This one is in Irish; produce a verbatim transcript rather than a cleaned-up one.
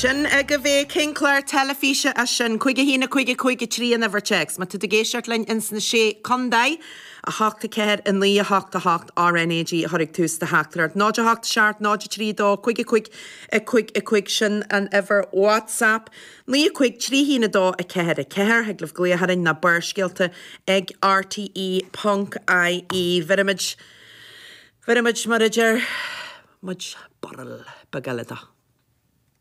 Sin agaibh é cén clár teilifíse é sin cúig a haon a cúig a cúig a trí an uimhir téacs. Má tá tú ag éisteacht linn ins na sé contae a hocht a ceathair a naoi a hocht a hocht RNAG a chuirfidh tús do theachtaireacht. Náid a hocht seacht náid a trí dó cúig a cúig a cúig a cúig sin an uimhir WhatsApp. Naoi a cúig trí haon a dó a ceathair a ceathair thig libh glaoch orainn nó Barrscéalta ag RTE ponc IE. Bheirimid bheirimid mar a deir muid barúil beag eile dó.